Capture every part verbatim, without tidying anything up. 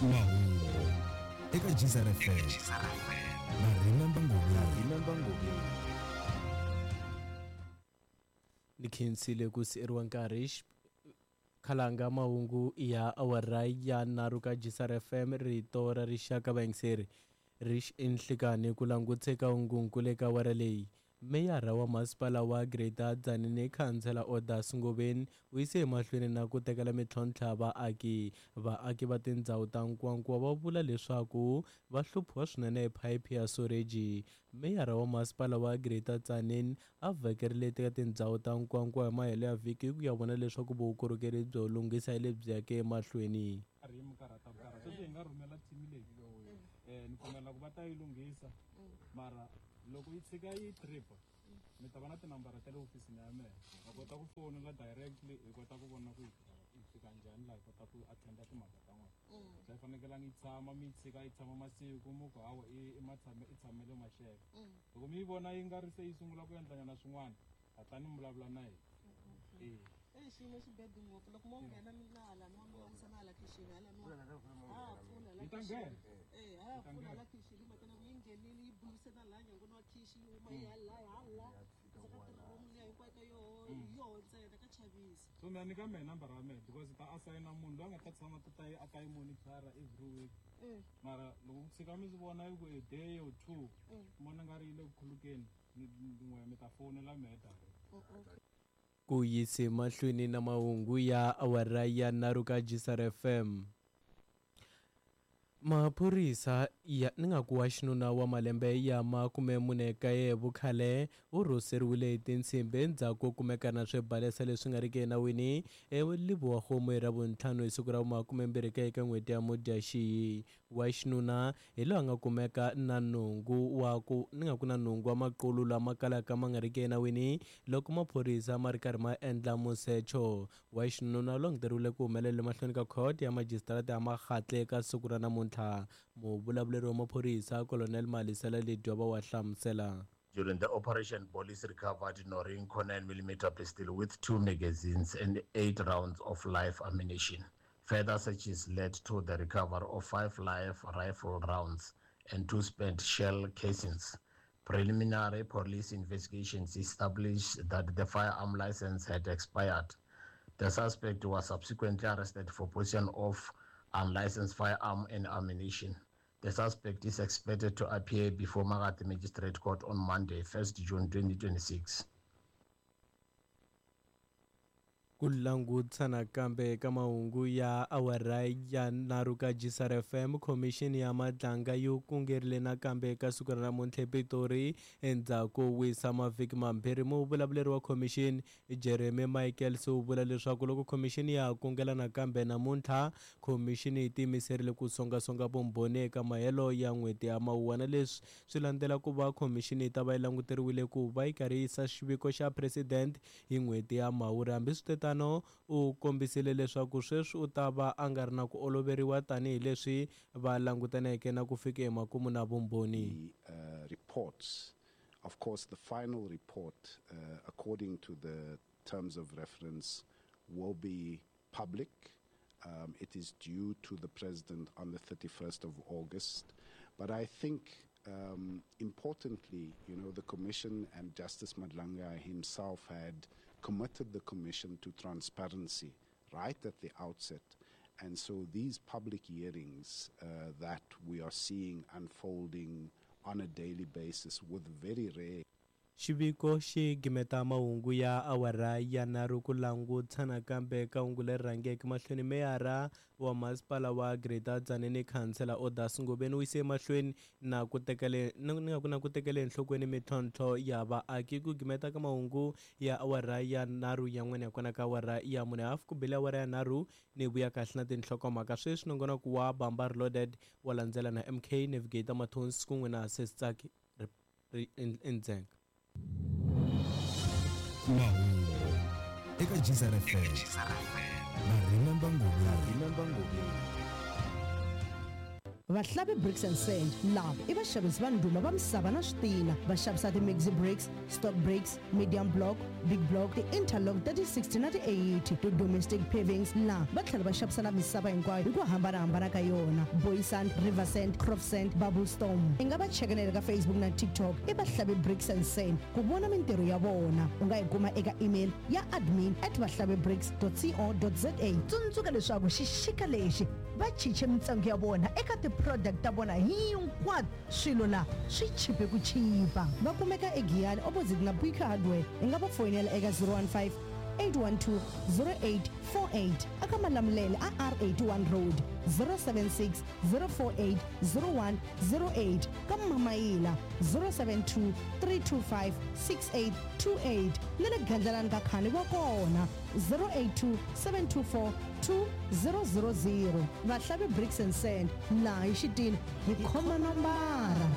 Mahungu eka Geyser F M na Remember Ngobeni. Ni khensile ku sieriwa nkarhi khalanga mahungu ya awara ya nharhu ka Geyser F M rito ra rixaka vayingiseri rix enhlikani ku languteka hungunkulu eka awara leyi. Meyara wa masipala wa Greater Tzaneen Khansela Odas Ngobeni u yise emahlweni na ku tekela mintlhontlho vaaki. Vaaki va tindhawu ta Nkowankowa va vula leswaku va hluphiwa swinene hi phayiphi ya soreji. Meyara wa masipala wa Greater Tzaneen a vhakerile eka tindhawu ta Nkowankowa hi mahelo ya vhiki ku ya vona leswaku vukorhokeri byo lunghisa hi lebyi yaka emahlweni. Mara loko yi tshika yi trip mi ta va na tinambara ta le ofisini ya mehe va kota ku fonela directly hi kota ku vona ku yi fika njhani laha hi kota ku attenda timhaka ta n'wina. Se yi fanekelanga yi tshama mi yi tshika yi tshama masiku mu ku hawa i matshame i tshamele maxeke. Loko mi yi vona yi nga ri se yi sungula ku endlanyana swin'wana hatlani mi vulavula na hina. E e xiyimo xi bad ngopfu loko mo nghena mi na hala no mi langutisa na hala khixini hala no ha pfula la nghena eh ha pfula la khixini mhaka ku yi nghenile yi buluse na laha nyangweni wa khishi yi huma yi hala hala ndzi ka tiroom liya hinkwayo ka yoho yoho ntsena ka chavisa. So mina nyika mehe nambara ya mehe because ta asayina munhu loyi a nga ta tshama ta ta a ta yi monitor every week. Mara loko ku tshika mi swi vona yi ku a day or two mona nga ri yi le ku khulukeni n'we mi ta fonela mehe direct. Ku yise mahlweni na mahungu ya awara ya nharhu ka Geyser F M. Maphorisa ya ni nga ku wa xinuna wa malembe ya makume mune kaye vukhale u rhoseriwile hi tinsimbi endzhaku ko kumeka na swibalesa leswi nga riki enawini eLebowa-Kgomo hi Ravuntlhanu hi siku ra makumembirhi kaye eka n'hweti ya Mudyaxihi. Wa xinuna hi loyi a nga kumeka na nhungu wa ku ni nga ku na nhungu wa maqulu lama kalaka ma nga riki enawini loko maphorisa ma ri karhi ma endla musecho. Wa xinuna u languteriwile ku humelela emahlweni ka khoto ya majisitarata ya Makgatle eka siku ra namuntlha. Muvulavuleri wa maphorisa Colonel Malisela Ledwaba wa hlamusela. During the operation, police recovered Norinco nine millimeter pistol with two magazines and eight rounds of live ammunition. Further searches led to the recovery of five live rifle rounds and two spent shell casings. Preliminary police investigations established that the firearm license had expired. The suspect was subsequently arrested for possession of unlicensed firearm and ammunition. The suspect is expected to appear before Makati Magistrate Court on Monday, first June twenty twenty-six. Ku langutisa nakambe ka mahungu ya awara ya nharhu ka Geyser F M, khomixini ya Madlanga yi kungerile nakambe eka siku ra namuntlha ePitori endzhaku wisa mavhiki mambirhi. Muvulavuleri wa khomixini Jeremy Michaels u vula leswaku loko khomixini ya kungela nakambe namuntlha, khomixini yi tiyimiserile ku songasonga vumbhoni eka mahelo ya n'hweti ya Mawuwana. Leswi swi landzela ku va khomixini yi ta va yi languteriwile ku va yi karhi yisa xiviko xa president hi n'hweti ya Mhawuri. Hambiswiritano u kombisile leswaku sweswi u ta va a nga ri na ku oloveriwa tanihileswi va langutaneke na ku fika emakumu na vumbhoni. Uh, reports, of course, the final report, uh, according to the terms of reference, will be public. Um, it is due to the president on the thirty-first of August. But I think, um, importantly, you know, the Commission and Justice Madlanga himself had committed the Commission to transparency right at the outset. And so these public hearings uh, that we are seeing unfolding on a daily basis with very rare Xiviko xi gimeta mahungu ya awara ya nharhu ku langutisa nakambe ka hungu leri rhangeke mahlweni. Meyara wa masipala wa Greater Tzaneen Khansela Odas Ngobeni u yise emahlweni na ku tekele ni nga ku na ku tekela enhlokweni mintlhontlho ya vaaki. Ku gimeta ka mahungu ya awara ya nharhu ya n'wina ya kona ka awara ya mune hafu ku bile awara ya nharhu ni vuya kahle na tinhlokomhaka sweswi nongonoko wa Bamba Reloaded wa landzela na M K Navigator Mathonsi kun'we na Sesitsaki Ndzhenga. Mahungu eka Geyser F M na Remember Ngobeni. Vahlavi Bricks and Sand lava i vaxavisi va ndhuma va misava na switina. Va xavisa ti-maxi bricks, stock bricks, medium block, big block, ti-interlock ta ti sixty na ti eighty, ti-domestic pavings. Laha va tlhela va xavisa na misava hinkwayo hi ku hambanahambana ka yona: boy sand, river sand, crop sand, bubble storm. I nga va chekanela ka Facebook na TikTok i Vahlavi Bricks and Sand ku vona mintirho ya vona. U nga yi kuma eka email ya admin at vahlavibricks co za. Tsundzuka leswaku xixika lexi va chiche mintsengo ya vona eka ti-product ta vona hinkwato. Swilo laha swi chipe ku chipa. Va kumeka eGiyani, opposite na Buika Hardware. I nga va foyinela eka zero one five eight one two zero eight four eight. Aka Malamulele a R eighty-one Road, zero seven six zero four eight zero one zero eight. Ka Mamayila, zero seven two three two five six eight two eight. Na le Gandlalani ka Khani wa kona, zero eight two seven two four two zero zero zero. Vahlavi Bricks and Sand, laha hi xitina hi khoma nombara.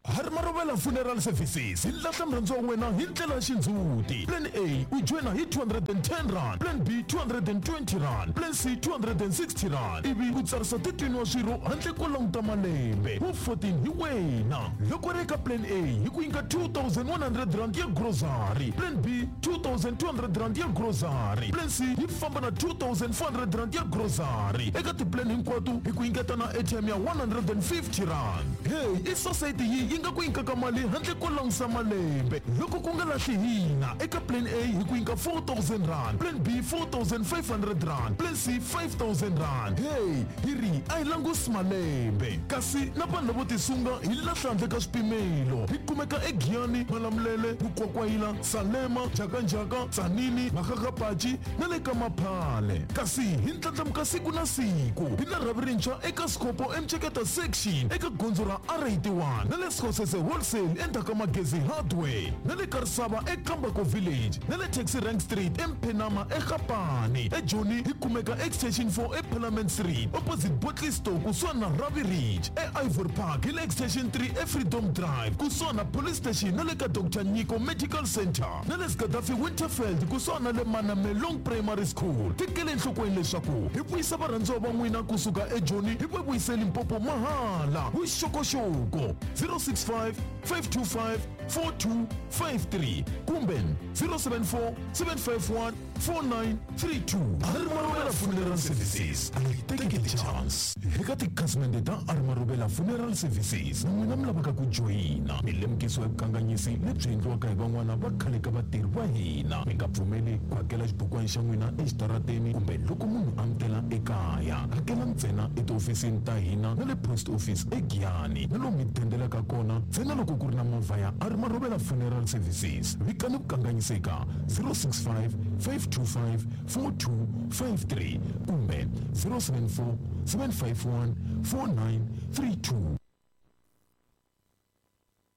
Harimarovela Funeral Services hi lahla murhandziwa wa wena hi ndlela ya xindzhuti. Plan A, u joyina hi two hundred and ten rand, plan B two hundred and twenty rand, plan C two hundred and sixty rand, ivi u tsarisa thirteen wa swirho handle ko languta malembe wu fourteen hi wena. Loko ri eka plan A, hi ku nyika two thousand one hundred rand ya grocery, plan B two thousand two hundred rand ya grocery, plan C yi famba na two thousand four hundred rand ya grocery. Eka tiplan hinkwato hi ku nyiketa na A T M ya one hundred and fifty rand. Hey, i society yi yi nga ku nyikaka mali handle ko langusa malembe loko ku nga lahli hina. Eka plan A hi ku nyika four thousand rand, plan B four thousand five hundred rand, plan C five thousand rand. Hey, hi ri a hi langusi malembe, kasi na vanhu lavo tisunga hi lahla handle ka swipimelo. Hi kumeka eGiyani, Malamulele, Mukwakwayila, Salema, Jakanjaka, Tsanini, Makgakgapachi na le ka Maphale. Kasi hi ndlandlamuka siku na siku. Hi na rhavi rintshwa eka Scopo eMceketa section eka gondzo ra R eighty-one, na le Skhosese Wholesale endzhaku ka Magezi Hardware, na le Karisava eKambako Village, na le Taxi Rank Street eMphenama eGapani. EJoni hi kumeka Extension four eParliament Street opposite Botley Store kusuhani na Ravi Ridge. EIvory Park hi le Extension three eFreedom Drive kusuhani na Police Station na le ka Doctor Nyiko Medical Center, na le Skadafi Winterfeld kusuhani na le Manamelong Primary School. Tekele enhlokweni leswaku hi vuyisa varhandziwa va n'wina kusuka eJoni hi va vuyise Limpopo mahala. Vuxokoxoko zero six five five two five four two five three kumbe zero seven four seven five one four nine three two. Arimarobela Funeral Services, a yi tekeli chance. Eka tikhasimende ta Arimarobela Funeral Services na n'wina mi lavaka ku joyina, mi lemukisiwa hi vukanganyisi lebyi endliwaka hi van'wana va khale ka vatirhi va hina. Mi nga pfumeli ku hakela xibukwana xa n'wina exitarateni kumbe loko munhu a mi tela ekaya. Hakela ntsena etihofisini ta hina na le post office eGiyani, na lomu mi dendelaka kona ntsena loko ku ri na movha ya Arimarobela Funeral Services. Vikani vukanganyiseka zero six five five two five four two five three kumbe zero seven four seven five one four nine three two.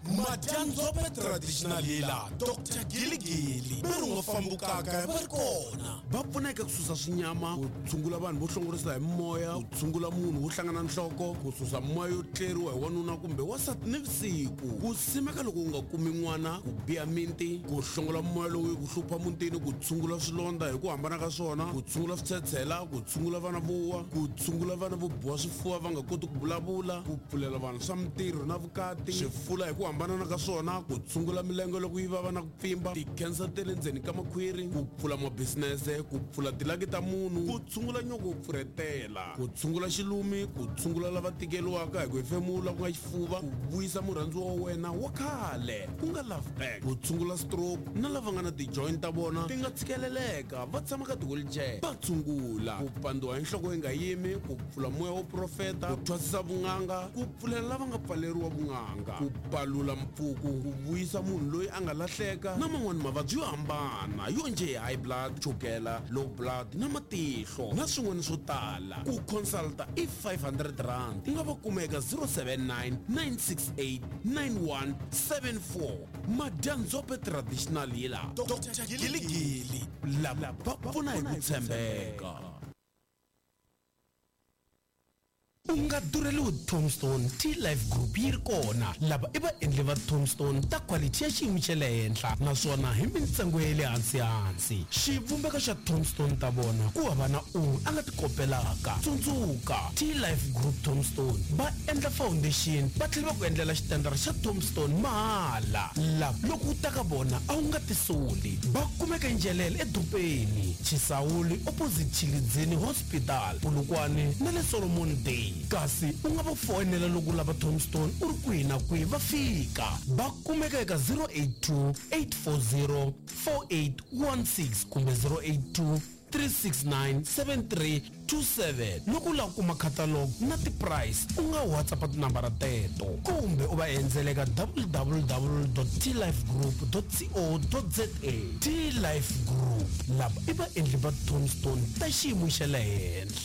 Madyandzombe Traditional Healer Doctor Giligili ve ri nga fambukaka va ri kona, va pfuneka ku susa swinyama, ku tshungula vanhu vo hlongorisa hi moya, ku tshungula munhu wo hlangana nhloko, ku susa moya yo tleriwa hi wanuna kumbe wasati nivusiku, ku simeka loko u nga kumi n'wana, ku biha minti, ku hlongola moya lowu yi ku hlupha mutini, ku tshungula swilondza hi ku hambana ka swona, ku tshungula switshetshela, ku tshungula vana vo wa, ku tshungula vana vo biwa swifuva va nga koti ku vulavula, ku pfulela vanhu swa mintirho na vukati, swifula hi ku hambanana ka swona, ku tshungula milenge loko yi vava na ku pfimba, ti-cancer ta le ndzeni ka makhwiri, ku pfula mabisinese, ku pfula tilaki ta munhu, ku tshungula nyoko wo pfurhetela, ku tshungula xilumi, ku tshungula lava tikeriwaka hi ku hefemula ku nga xifuva, ku vuyisa murhandziwa wa wena wa khale ku nga love back, ku tshungula stroke na lava nga na ti-joint ta vona ti nga tshikeleleka va tshama ka ti-wheelchair va tshungula, ku pandziwa hi nhloko yi nga yimi, ku pfula moya wo profeta, ku thwasisa vun'anga, ku pfulela lava nga pfaleriwa vun'anga, ku palula mpfuku, ku vuyisa munhu loyi a nga lahleka na man'wani mavabyi yo hambana yo njhe hi high blood, chukela, low blood na matihlo na swin'wana swo tala. Ku consulta i five hundred rand. U nga va kuma eka zero seven nine nine six eight nine one seven four. Madyandzombe Traditional Healer Doctor Giligili lava va pfuna hi ku tshembeka. U nga durheliwi tombstone, T-Life Group yi ri kona. Lava i vaendli va tombstone ta quality ya xiyimo xa le henhla, naswona hi mintsengo ya le hansi-hansi. Xivumbeko xa tombstone ta vona ku hava na un'we a nga ti kopelaka. Tsundzuka, T-Life Group tombstone va endla foundation, va tlhela va ku endlela xitandara xa tombstone mahala. Lava loko u ta ka vona a wu nga tisoli. Va kumeka Njelele edorobeni, Chisawuli opposite Chilidzini Hospital, Polokwane na le Solomon Day. Kasi u nga va foyinela loko u lava tombstone u ri kwihi na kwihi, va fika. Va kumeka eka zero eight two, eight four zero, four eight one six kumbe zero eight two, three six nine, seven three two seven. Loko u lava ku kuma catalog na ti-price, u nga WhatsApp tinambara teto kumbe u va endzela eka w w w dot t life group dot co dot z a. T-Life Group, lava i vaendli va tombstone ta xiyimo xa le henhla.